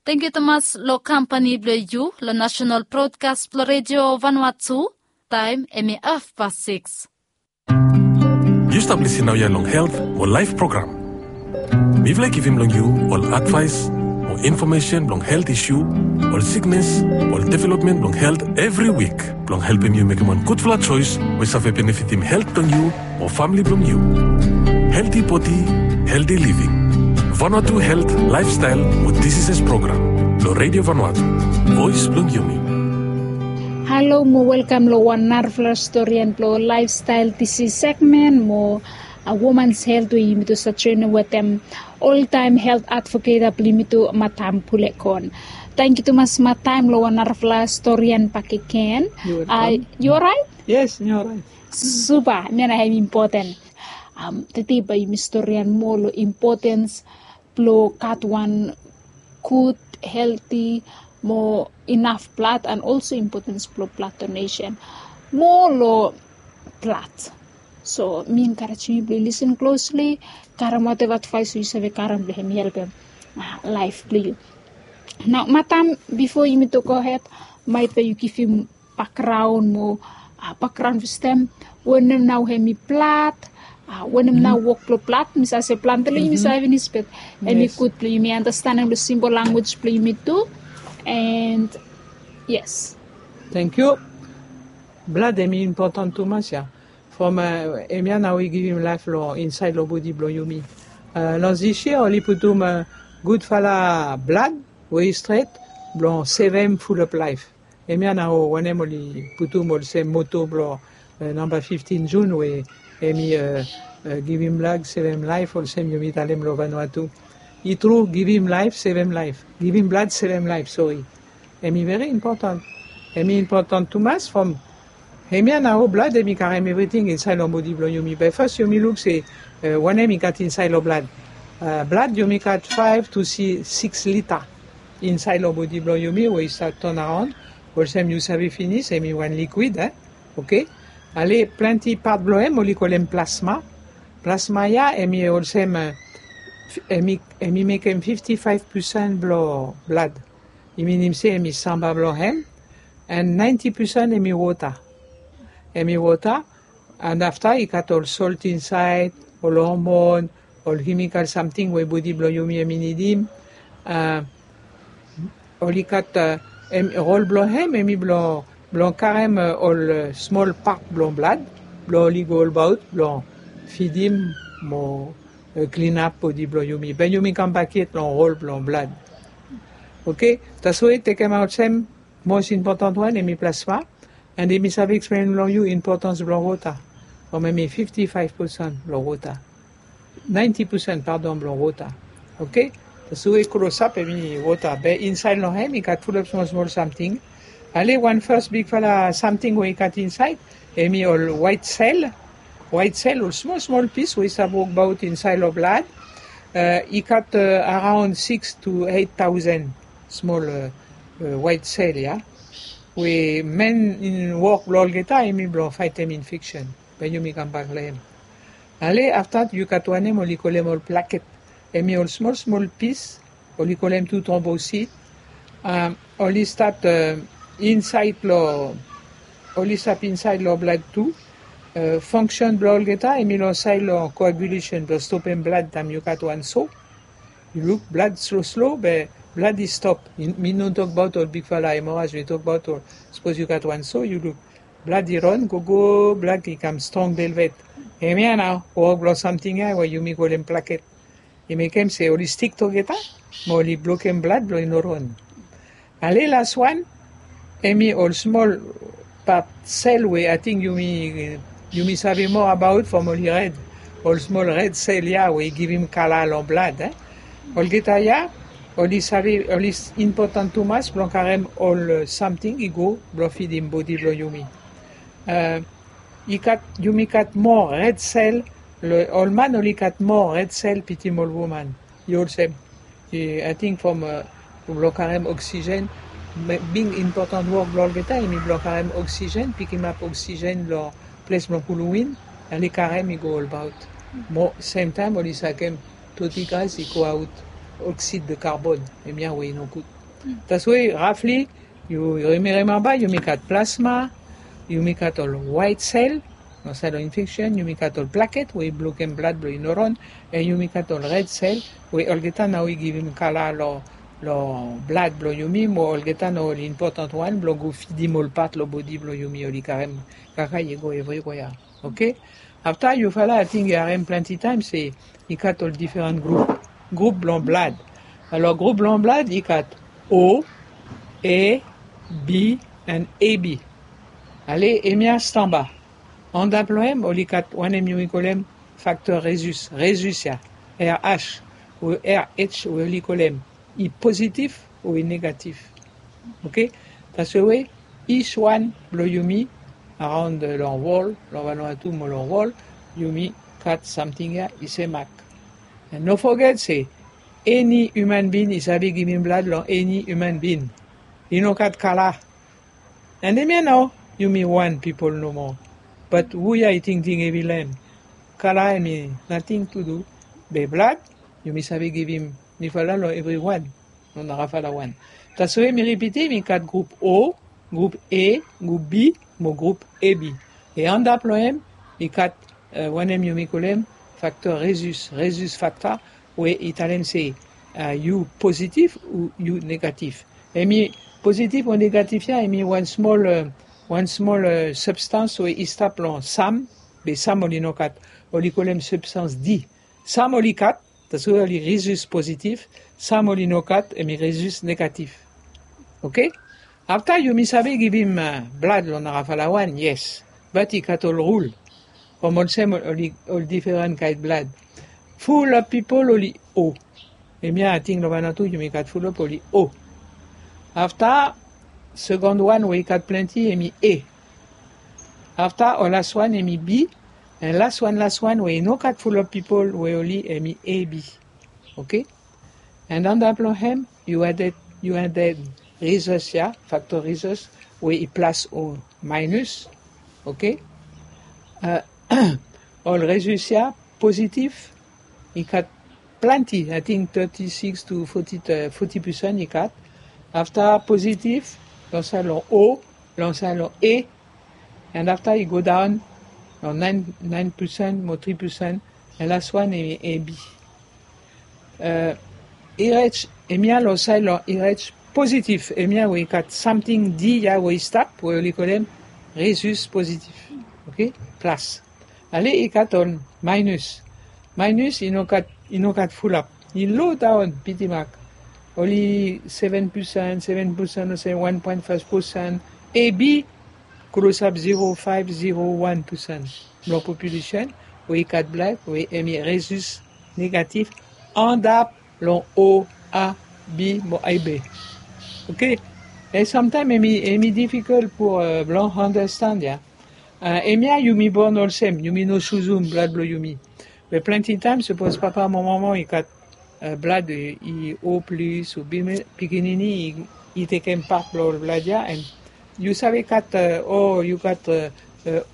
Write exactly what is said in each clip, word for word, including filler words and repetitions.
Tangkiu tumas long kampani blong yu long nasenal brodkas blong redio Vanuatu. Taem hemi hafpas sikis. Yu stap lisin naoia long Helt mo Laef program. Mifala i givim long yu ol advaes mo infomesen blong helt isu, ol siknes, ol developmen blong helt evri wik blong helpem yu mekem wan gudfala joes we save benefitim helt blong yu mo famle blong yu. Helti bodi, helti living. Vanuatu Helt, Laefstael mo Diseases program long Redio Vanuatu, Voes blong Yumi. Halo mo welkam long wan narafala storian blong Laefstael Disis segmen mo Womans Helt we yumi tu sat joenem wetem oltaem helt advoketa blong yumi tu, Matam Pulekon. Tangkiu tumas Matam long wan narafala storian bakegen. Yu oraet? Yes, mi oraet. Supa, hemia nao hem impoten. Tede bae yumi storian moa long impotens blong gat wan gud, helti mo inaf blad, and also impotens blong blad donesen. Moa long blad. So mi enkarejem yu blong yu lisin klosli, karem wateva advaes we yu save karem blong hem i helpem laef blong yu. Nao Matam, bifo yumi tu gohed, maet bae yu givim bakgraon mo bakgraon fastaem, wanem nao hem i blad, wanem nao wok blong blad. Mi save se plante long yumi save finis, be hem i gud blong yumi andastanem long simpol lanwis blong yumi tu. And yes. Tangkiu. Blad hem i impoten tumas ya. From hemia nao i givim laef long insaed long bodi blong yumi. Long zis yia oli putum gudfala blad we i stret blong sevem fulap laef. Hemia nao wanem oli putum olsem moto blong namba fiftin Jun we hem i givim blad sevem laef, olsem yumi talem long Vanuatu. I tru, givim laef sevem laef. Givim blad sevem laef, sori. Hem i veri impoten. Hem i impoten tumas from hemia nao blad hem i karem evriting insaed long bodi blong yumi. Be fas yumi luk se wanem i gat insaed long blad. Blad yumi gat faef tu sikis lita insaed long bodi blong yumi we i stat ton aon. Olsem yu save finis, hem i wan likwid, eh? Oke. Ale plante pat blong hem oli kolem plasma. Plasma ya hem i olsem, hem i mekem fifti faef pesen blong blad. I minim se hem i samba blong hem. And naenti pesen hem i wota. Hem i wota. And afta i gat ol solt insaed, ol hormon, ol kemikal samting we bodi blong yumi hem i nidim. Oli gat rol blong hem hem i blong karem ol smol pat blong blad blong oli go olbaot blong fidim mo klinap bodi blong yumi. Be yumi kambak yet long rol blong blad. Oke. Taswe tekemaot sem mos impoten wan hem i plasma. And hem i save eksplen long yu impotens blong wota. From hem i fifti faef pesen blong wota. Naenti pesen, padon, blong wota. Oke. Taswe klosap hem i wota, be insaed long hem i gat fulap smol smol samting. Ale wan fas bigfala samting we i gat insaed hem i ol waet sel. Waet sel, ol smol smol pis we i stap wokbaot insaed long blad. I gat araon sikis tu eit taosen smol waet sel ya. We men wok blong olgeta hem i blong faetem infeksen. Be yumi kambak long hem. Ale afta yu gat wanem oli kolem ol plaket. Hem i ol smol smol pis oli kolem tu trombosit. Oli stat insaed long, oli stap insaed long blad tu. Fongsen blong olgeta hem i long saed long koagulesen blong stopem blad taem yu gat wan so. Yu luk blad slo slo be blad i stop. Mi no tokbaot ol bigfala hemoraj, mi tokbaot ol sapos yu gat wan so, yu luk blad i ron gogo, blad i kam strong velvet. Hemia nao wok blong samting ya we yumi kolem plaket. I mekem se oli stik togeta mo oli blokem blad blong i no ron. Ale las wan hem i ol smol pat sel we ating yumi save moa abaot from oli red. Ol smol red sel ya we i givim kala long blad. Olgeta ya oli save, oli impoten tumas blong karem ol samting i go blong fidim bodi blong yumi. I gat, yumi gat moa red sel. Ol man oli gat moa red sel pitim ol woman. I olsem, ating from blong karem oksigen. Big impoten wok blong olgeta hem i blong karem oksigen, pikimap oksigen long ples blong pulum win. Ale karem i go olbaot. Mo semtaem oli sakem toti gas i go aot, oksid de karbon. Hemia we i nogud. Taswe rafli, yu rimemba yumi gat plasma, yumi gat ol waet sel, long saed long infeksen yumi gat ol plaket we i blokem blad blong i no ran, en yumi gat ol red sel we olgeta nao i givim kala long blad blong yumi, mo olgeta nao ol impotan wan blong go fidim ol pat long bodi blong yumi oli karem kaka i go evriwea. Oke. Afta yufala ating yu harem plante taem se i gat ol diferan grup grup blong blad. Alor grup blong blad i gat o, a, b, and a b. Ale hemia stamba. Andap long hem oli gat wanem yumi kolem fakter rezus rezus ya, rh o rh we oli kolem i pozitif o i negatif. Oke. Taswe we ich wan blong yumi araon long wol long vanua tu mo long wol, yumi gat samting ya i se mak. No foget se eni iuman bin i save givim blad long eni iuman bin. I no gat kala. And hemia nao yumi wan pipol nomo. Bat hu ya i tingting evi long hem? Kala hemi nating tu du. Be blad yumi save givim mifala long evriwan. Long narafala wan. Taswe mi ripitim i gat grup o, grup a, grup b, mo grup a b. E andap long hem i gat wanem yumi kolem fakter rezus rezus fakta, we i talem se yu pozitif o yu negatif. Hemi pozitif o negatif ya hemi wan smol wan smol substans we i stap long sam. Be sam oli no gat, oli kolem substans d. Sam oli gat, taswe oli rezus pozitif. Sam oli no gat hemi rezus negatif. Oke. Afta yumi save givim blad long narafala wan, yes. Bat i gat ol rul. From olsem ol diferan kaen blad. Fulap pipol oli o. Hemia ating long vanatu yumi gat fulap oli o. Afta segond wan we i gat plante hemi a. Afta ol las wan hemi b. And las wan las wan we i no gat fulap pipol we oli hemi a b. Oke. And andap long hem yu aded yu aded rezus ya, fakter rezus we i plas o maenus. Oke. Ol rezus ya pozitif i gat plante, ating teti siks tu foti pusan i gat. Afta pozitif long saed long o, long saed long a. And afta i go daon long naen pusan mo tri pusan. And las wan hemi a b. Rh hemia long saed long rh pozitif, hemia we i gat samting d ya we i stap we oli kolem rezus pozitif. Oke. Plas. Ale i gat ol maenus. Maenus i no gat i no gat fulap. I lo daon piti mak. Oli seven pusan seven pusan o se wan poen faef pusan. A b klosap zero faef zero wan pusan blong populesen we i gat blad we hemi rezus negatif. Andap long o, a, b mo a b. Oke. E samtaem hemi difikol pou blong andastand ya. Hemia yumi bon olsem yumi no suzum blad blong yumi. Be plante taem sapos papa mo mama i gat blad i o plis o b, pikinini i tekem pat blong ol blad ya. And yu save gat o yu gat o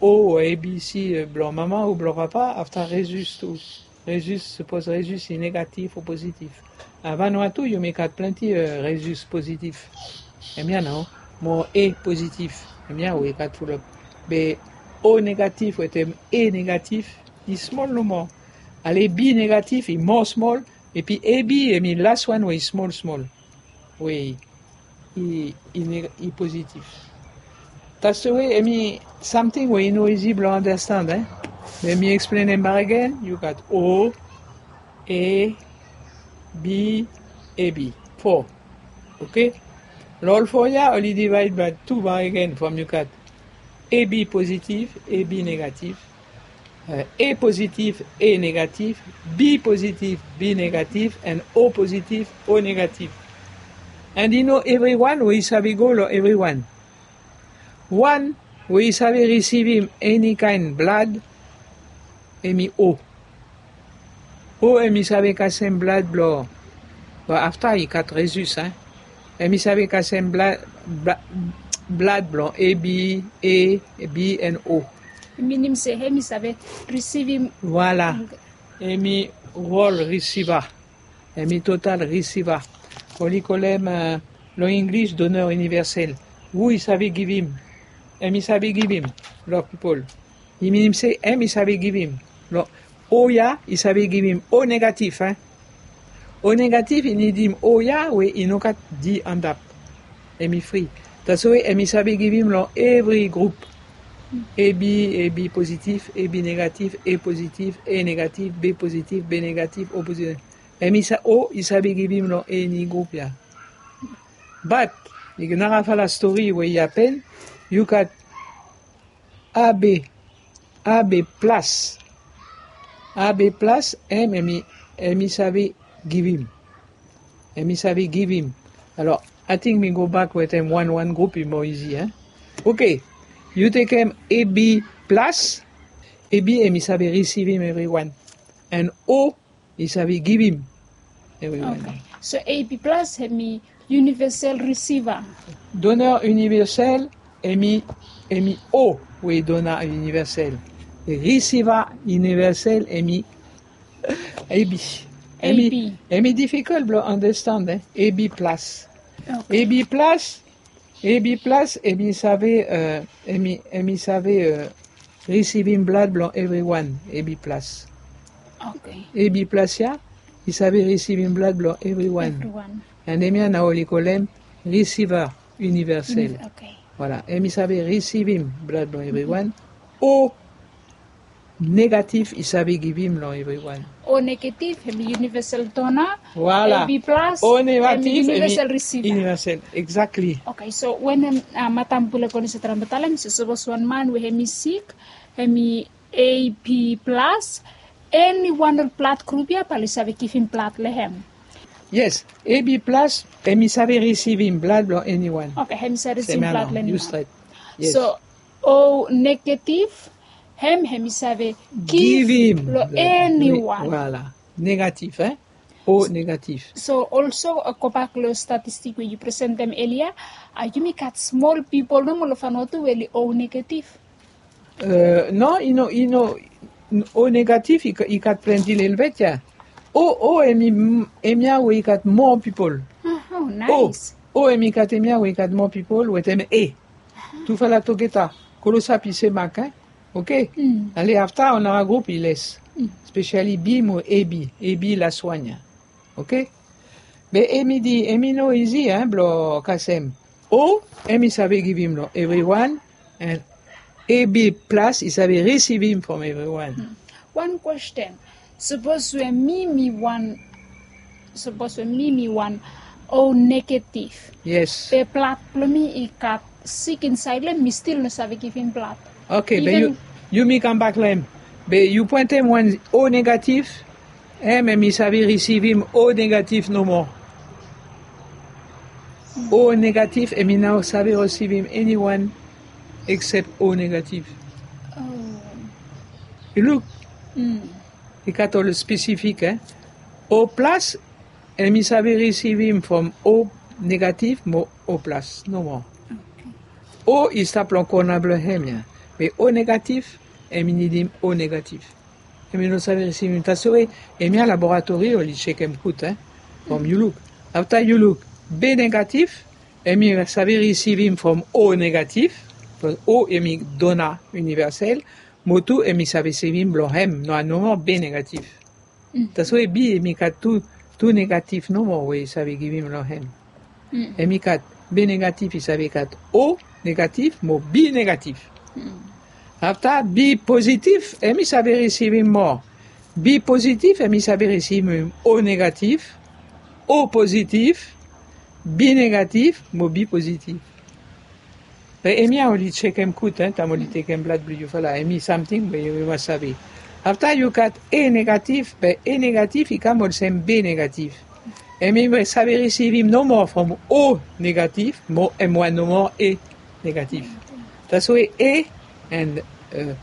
o a b c blong mama o blong papa afta rezus tu. Rezus sapos rezus i negatif o pozitif. Avan wan tu yumi gat plante rezus pozitif. Hemia nao mo a pozitif. Hemia we i gat fulap. Be o negatif wetem a negatif i smol nomo. Ale b negatif i moa smol. Epi a b hemi las wan we i smol smol we i pozitif. Taste we hemi samting we i no izi blong andastand. Be mi eksplen hem bakegen. Yu gat o, a, b, a b. Fo. Oke. Long ol fo ya oli divaed bae tu bakegen from yu gat a b pozitif, a b negatif, a pozitif, a negatif, b pozitif, b negatif, and o pozitif, o negatif. And i no evriwan we i save go long evriwan. Wan we i save risivim eni kaen blad hemi o. O hemi save kasem blad blong, afta i gat rezus. Hemi save kasem blad blong a b, a b and o. Minim se hemi save risivim. Voila. Hemi rol risiva. Hemi total risiva. Oli kolem Long English, donè inivèsèl. Hu i save givim? Hem i save givim long pipol. I minim se hem i save givim long O ya i save givim O negatif, hein. O negatif i nidim O ya we i no gat D antap. Hem i fri. Taswe hem i save givim long evri grup. A B, A B pozitif, A B negatif, A pozitif, A negatif, B pozitif, B negatif, O pozitif. Hem i sa-, O i save givim long eni grup ya. But i nara fala stori we i hapen, yu gat A B, A B plas. A B plas, hem, hem i, hem i save givim. Hem i save givim. Alor, I think mi go bak wetem wan wan grup i moa izi, hein. Oke. Yu tekem A B plas, A B hem i save risivim evriwan. And O i save givim evriwan. Oke. So A B plas hem i univèsèl risiva. Donè inivèsèl hem i, hem i O we i donè inivèsèl. Risiva inivèsèl hem i A B. Hem i, A B. Hem i difikol blong andastand, hein. A B plas. Oke. A B plas, A B plas, hem i save, euh, hem i, hem i save, euh, risivim blad blong evriwan, A B plas. Oke. A B plas ya, i save risivim blad blong evriwan. Evriwan. And hemia nao oli kolem risiva inivèsèl. Oke. Voilà, hem i save risivim blad blong evriwan. O negatif i save givim long evriwan. O negatif hem i univèsèl donè. Voilà. A B plas hem i univèsèl risiva. O negatif hem i univèsèl, exactly. Oke, so wenem, uh, matam Pule Konis i traem blong talem se sapos wan man we hem i sik, hem i A B plas, eniwan long blad grup ya bae oli save givim blad long hem. Yes, A B plas hem i save risivim blad blong eniwan. Oke, hem i save risivim blad long eniwan. Yes. So O negatif, hem, hem i save givim long eniwan. Voilà. Negatif, hein? O negatif. So also, uh, gobak long statistik we yu presentem elia, uh, yumi gat smol pipol nomo long Vanuatu we oli O negatif. Uh, no, i no, i no, O negatif i, i gat plante lelebet ya. O, O hem i, hemia we i gat moa pipol. Oh, nice. O, O hem i gat hemia we i gat moa pipol wetem A. Tufala tugeta, klosap i semak, hein? Oke. Ale, afta on nara grup i les. Spesiali B mo A B, A B las wan ya. Oke. Be hem i di, hem i no izi, hein, blong kasem. O hem i save givim long evriwan, and A B plas i save risivim from evriwan. Wan kwesten. Sapos we mi mi wan, sapos we mi mi wan O negatif. Yes. Be blad blong mi i gat sik insaed long hem, mi stil no save givim blad. Oke, be yu, yu mi kambak long hem. Be yu pwentem wan O negatif, hem, hem i save risivim O negatif nomo. O negatif hem i no save risivim eniwan eksep O negatif. Oh. Yu luk. I gat ol spesifik, hein. O plas hem i save risivim from O negatif mo O plas nomo. Oke. O i stap long kona blong hem ya. Be O negatif hem i nidim O negatif. Hem i no save risivim. Taswe hemia laboratori oli jekem gud, hein. From yu luk. Afta yu luk B negatif, hem i save risivim from O negatif. Bikos O hem i dona inivèsèl. Mo tu hem i save risivim blong hem, no, nomo B negatif. Taswe B hem i gat tu, tu negatif nomo we i save givim long hem. Hem i gat B negatif, i save gat O negatif mo B negatif. Afta B pozitif hem i save risivim moa. B pozitif hem i save risivim O negatif, O pozitif, B negatif mo B pozitif. Be hemia oli jekem gud, hein, taem oli tekem blad blong yu, fala, hemi samting we yu mas save. Afta yu gat A negatif, be A negatif i kam olsem B negatif. Hemi save risivim nomo from O negatif mo hem wan nomo A negatif. Taswe A and, uh,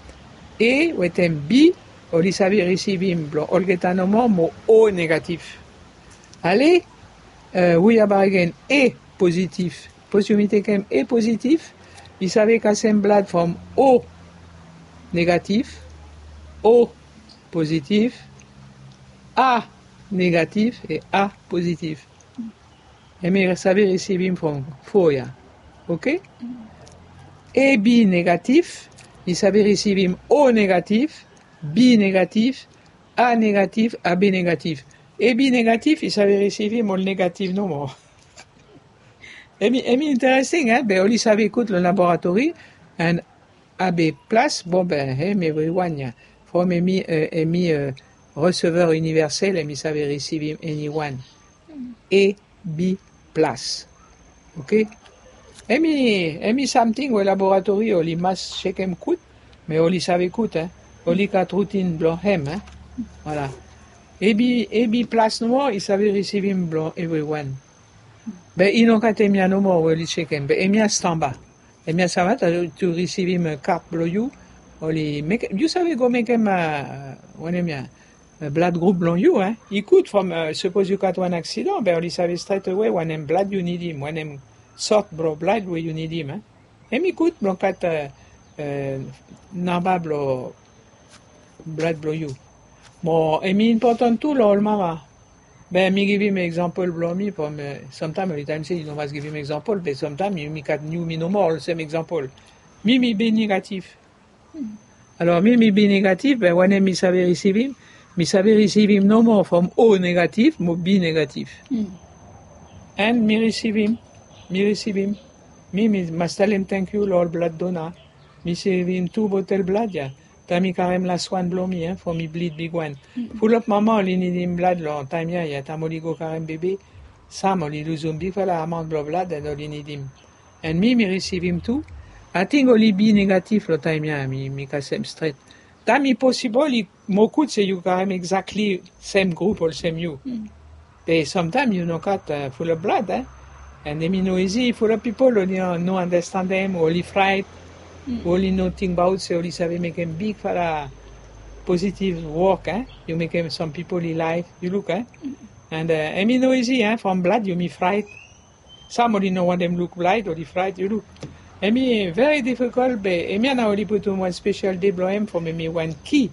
A wetem B oli save risivim blong olgeta nomo mo O negatif. Ale, uh, we ya bae agen, A pozitif. Sapos yumi tekem A pozitif, i save kasem blad from O negatif, O pozitif, A negatif e A pozitif. Hemi save risivim from fo ya. Oke? A B negatif i save risivim O negatif, B negatif, A negatif, A B negatif. A B negatif i save risivim ol negatif nomo. Hemi, hemi interesting, eh? Be oli save kut lo laboratori, and A B plas, bon, be hem evriwan ya. From hemi, eh, hemi, eh, receveur universel, hemi save risivim eniwan. A B plas. Oke? Hemi, hemi samting we laboratori oli mas sekem kut, me oli save kut, eh? Oli gat rutin blo hem, eh? Voilà. A B, A B plas nomo i save risivim blo evriwan. Be i no gat hemia nomo we oli sekem, be hemia stamba. Hemia stamba tu risivim, eh, kart blo yu. Oli mekem, yu save go mekem, eh, wanem ya, eh, blood group blo yu, eh. I gud from, eh, sapos yu gat wan aksidan, be oli save stret awe wanem blood yu nidim, wanem sort blo blood we yu nidim, eh. Hemi gud blo gat, eh, eh, namba blo blood blo yu. Mo hemi impotan tu lo ol mama. Be mi givim eksampol blo mi from, eh, samtaem oli talem se yu no mas givim eksampol, be samtaem yumi gat yumi nomo olsem eksampol. Mi, mi B negatif. Alor mi, mi B negatif, be wanem mi save risivim? Mi save risivim nomo from O negatif mo B negatif. And mi risivim, mi risivim. Mi, mi mas talem tangkiu lo ol blood donor. Mi risivim tu botel blood ya. Taem mi karem las wan blo mi, eh, from mi bleed bigwan. Fulap mama oli nidim blood lo taem ya, ya taem oli go karem bebe. Sam oli luzum bigfala amount blo blood and oli nidim. And mi, mi risivim tu. Ating oli B negatif lo taem ya, mi, mi kasem stret. Taem i posibol i mo gud se yu karem exactly sem group olsem yu. Be samtaem yu no gat, eh, fulap blood, eh. And hemi no izi, fulap pipol oli no, no andastandem, oli fraet, oli no tingbaot se oli save mekem bigfala positive wok, eh. Yu mekem sam pipol i laef, yu luk, eh. And, eh, hemi no izi, eh, from blood yumi fraet. Sam oli no wantem luk blood, oli fraet, yu luk. Hemi very difficult, be hemia nao oli putum wan spesel de blo hem from hemi wan ki.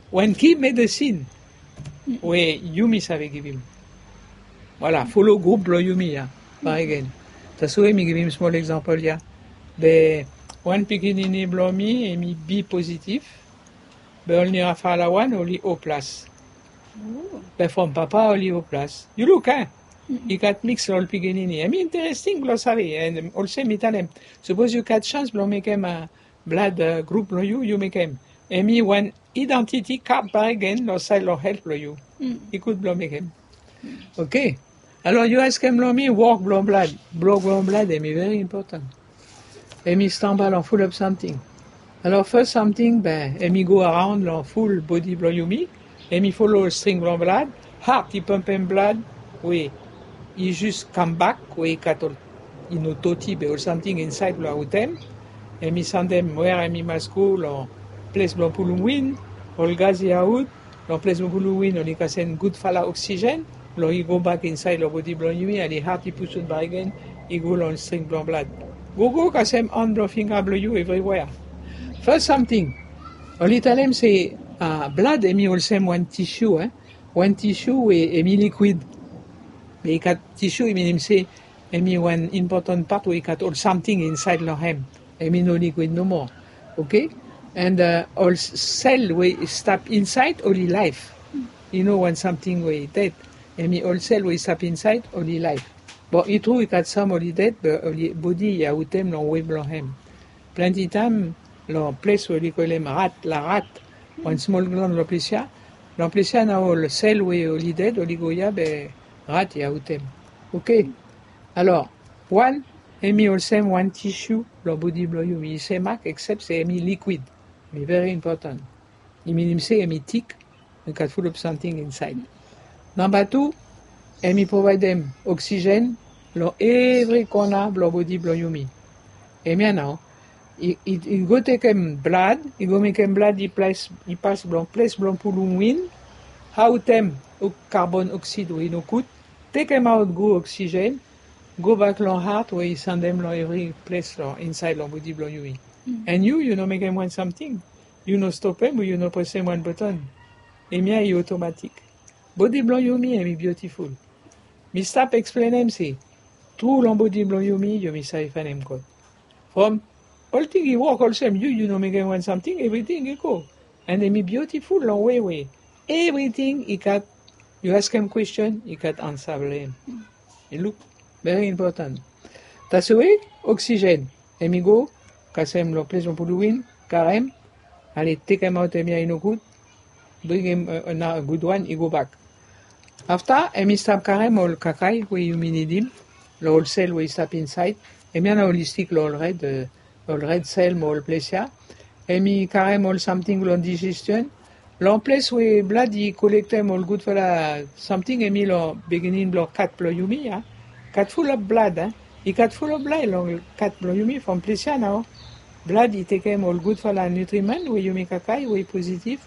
Wan ki medesin we yumi save givim. Voilà, folo group blo yumi ya. Baregen. Taswe mi givim smol eksampol ya. Be wan pikinini blo mi, hemi B pozitif. Be only wan fala wan oli O plas. Be from papa oli O plas. Yu luk, eh? I gat miks ol pikinini. Hemi interesting blo save, and olsem mi talem, sapos yu gat sans blo mekem, eh, blood, eh, group blo yu, yu mekem. Hemi wan identity card baregen lo saed lo helt blo yu. I gud blo mekem. Oke. Alor yu askem lo mi wok blo blood. Wok blo blood hemi very important. Hemi stamba lo fulap samting. Alor fas samting, be hemi go around lo ful bodi blo yumi. Hemi folo string blo blood. Heart i pampem blood we i jus kambak, we i gat ol, i no toti be ol samting insaed blo aotem. Hemi sandem wea hemi mas go, lo ples blo pulum win, ol gas i aot, lo ples blo pulum win oli kasem gudfala oksijen, lo i gobak insaed lo bodi blo yumi, ali hat i pusut bakegen, i go lo string blo blad. Gogo kasem an blo finga blo yu evriwea. Fas samting, oli talem se, ah, blad hemi olsem wan tisiu, eh? Wan tisiu we hemi likwid. Be i gat tisiu, i minim se hemi wan impotan pat we i gat ol samting insaed lo hem. Hemi no likwid nomo. Oke? And, uh, ol s-, sel we i stap insaed oli laef. I no wan samting we i ded. Hemi ol sel we i stap insaed oli laef. Bon, i tru i gat sam oli ded, be oli bodi i aotem lo we blo hem. Plante taem lo ples we oli kolem rat, la rat, wan smol glan lo ples ya. Lo ples ya nao ol sel we oli ded oli go ya be rat i aotem. Oke. Alor, wan, hemi olsem wan tisiu lo bodi blo yumi, i semak, eksep se hemi likwid. Hemi very important. I minim se hemi tik, i gat fulap samting insaed. Namba tu, hemi provaedem oksijen lo evri kona blo bodi blo yumi. Hemia nao, i, i, i go tekem blad, i go mekem blad i ples, i pas blo ples blo pulum win, aotem ok-, karbon oksid we i no gud, tekemaot gud oksijen, gobak lo hat we i sandem lo evri ples lo insaed lo bodi blo yumi. And yu, yu no mekem wan samting. Yu no stopem o yu no presem wan boton. Hemia i otomatik. Bodi blo yumi hemi biotiful. Mi stap eksplenem se, Tru long bodi blong yumi, yumi save fanem God. From olting i wok olsem, yu yu no mekem wan samting, evriting i go. And em i biutiful long we we evriting i gat, yu askem kwestion, i gat ansa blong em. I luk very important. Taswe oksigen em i go kasem long ples blong puluwin, karem, ale tekem aot em ya i no gud, bringem na gud wan i go bak. Afta em i stap karem ol kakai we yumi nidim long ol sel we i stap insaed. Em ya na ol i stik long ol red, ol red sel mo ol ples ya. Em i karem ol samting long digestion. Long ples we blad i kolektem ol gudfala samting, em i long biginin blong kat blong yumi ya. Kat fulop blad, i kat fulop blad long kat blong yumi. From ples ya nao blad i tekem ol gudfala nutriman we yumi kakai we i pozitif.